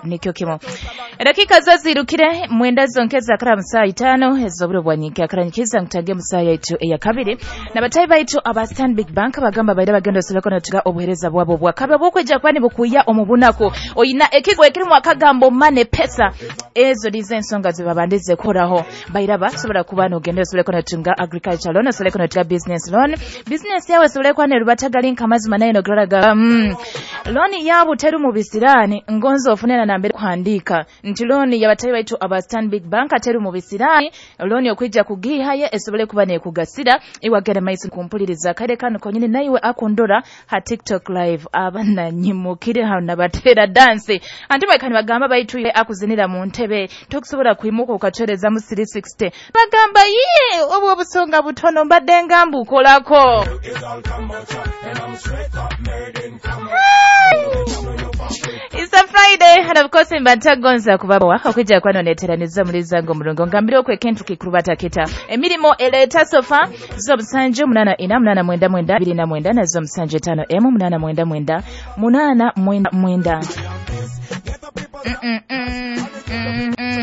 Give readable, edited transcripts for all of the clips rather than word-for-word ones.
Nikyo kimu edakika zo zirukire 9 zonkeza kara musaa 5 ezoburo bwanyinki akaranyikiza nkutange musaa yaitu eya kabiri na batayi baitu aba Stanbic Bank bagamba baira bagenda osoleko natuga obuhereza bwabo bwakabe bwokweja kwani bukuya omubunaku oyina ekigwe ekirimu akagambo mane pesa ezo nizo ensonga zibabandize koraho bairaba sobola kuba nogenda osoleko natunga agriculture loan, osoleko natuga business loan, business yawe osobole kuba nerubatagali nkamazima nayo nogaraga loan yabo teru mu bisirani ngonzo ofunena nambere kuhandika nti loan yabatayi baitu aba Stanbic Bank ateru mu bisirani loan okwijja kugihaye esobole kuba nekugasira iwagera maiso kumpuliriza kale kano konyini naiwe akundora ha TikTok live abananyimukire hano nabatera dance anti bakani bagamba baitu ile akuzinira mu ntebe tokusobola kuimuka ukatereza mu 360 bagamba iye obwo obusonga butono mbadde ngambu kolako. It's a Friday and of course mbantagonza kubabawa okujja kwano neteraniza mulizango mulungo ngambire okwe kentu kikurubata kita emirimo eleta sofa zo musanju 8 4 8 9 9 2 9 na zo musanju 5 m 8 9 9 8 9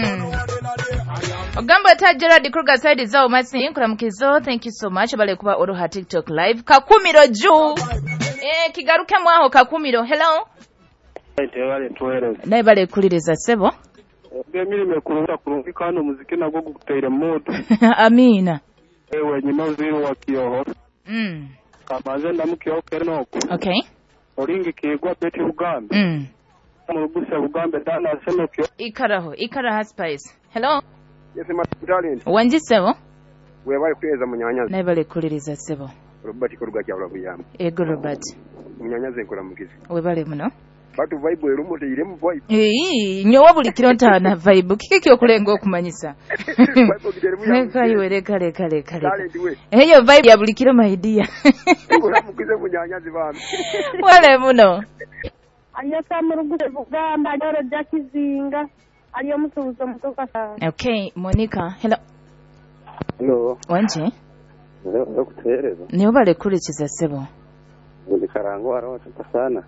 9. Ogamba ta Gerard Kruger side zao masi nkuramukizo, thank you so much bale kuba oruha TikTok live kakumiro juu kigaruke mwaho kakumiro. Hello. Naye bale kuliriza sebo emirimo ekurunga kurungi kandi omuziki nagwo gukuteire moto. Amina. Ewe nyina uziro wa kiyoho. Kamanze ndamukiyoho kenoko. Okay. Oringi kigwa Betty Bugambe. Muruguse Bugambe dana seno kiyo. Ikaraho, ikaraha spice. Hello. Yes, my darling. Wanji sebo? We bali kweza munyanyazi. Naye bale kuliriza sebo. Robert Koruga kyabula buyamba. Ego Robert. Munyanyazi nkora mukizi. We bale muno. Batu vibe erumu teiremu vibe. Nyowa buli kiro ntaana vibe. Kiki kyokulenga okumanyisa? Vibe ogiteremu ya. Leka iwe leka leka leka leka. Eyo vibe ya buli kiro my dear. Nkora mukize munyanyazi bambi. Wale muno. Aliyesa muruguse Bugamba aliyoro Jakizinga aliyo musubuzo mutoka sana. Okay, Monica. Hello. Hello. Wanje? Ndio kutueleza. Niyo bale kurikiza sebo. Ndi karango araho sana.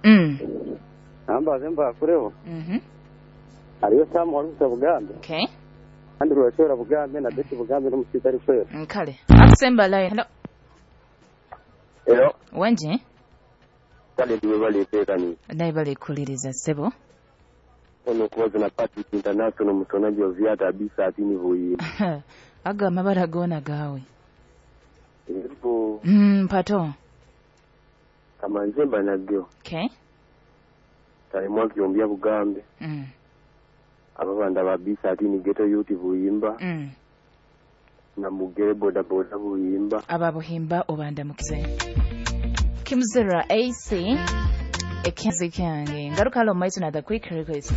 Namba zemba kureho. Aliyo Sam warusa Bugambe. Okay. Kandi rwashora Bugambe na Betty Bugambe n'umusiza ari kwera. Nkale. Akusemba line. Hello. Hello. Wanje? Kale ndiwe bale tekani. Naye bale kuliriza sebo. Ono kubaza na Patrick International musonaji wa viata abisa atini huyi. Aga amabara gona gawe. Ego. Pato. Kama nzemba nagyo. Okay. Talimwa kiombia Bugambe. Ababanda babisa atini ghetto youth buyimba. Na mugere boda boda buyimba. Aba buhimba obanda mukize. Kimzera AC ekenzi kyange. Ngaruka lo maitu na the quick request.